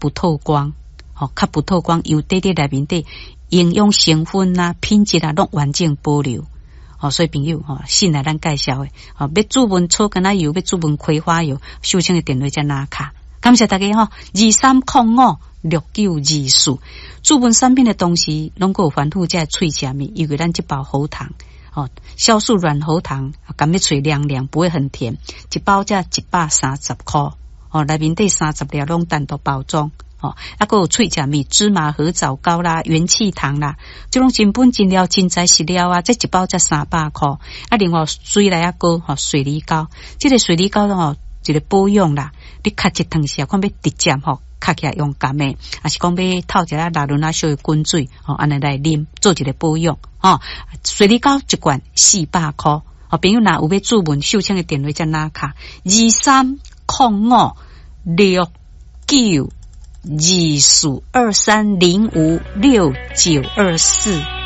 不透光，吼，較不透光，油底底內面底營養成分啊、品質啊，攏完整保留。吼，所以朋友吼，信賴咱介紹的，吼，欲注文草根仔油，欲注文葵花油，秀清的電話才拿卡。感謝大家吼，23056924。注文產品的同時，攏閣有繁複這喙食物，尤其咱這包喉糖，吼，酵素軟喉糖，含欲喙涼涼，不會很甜，一包才130箍，吼，內面底30粒攏單獨包裝。吼，啊，閣有喙食物，芝麻褐藻膏啦、元氣糖啦，這攏真本真料、真材實料啊！這一包才300箍。啊，另外水梨仔膏吼，水梨膏，這個水梨膏吼，一個保養啦，你咳一頓時啊，看欲直接吼，咳起來用含的，抑是講欲透一下拉圇仔小滾水吼，按呢來啉，做一個保養吼。水梨膏一罐400箍。吼，朋友若有欲注文秀清的電話才拿卡，23056924，23056924。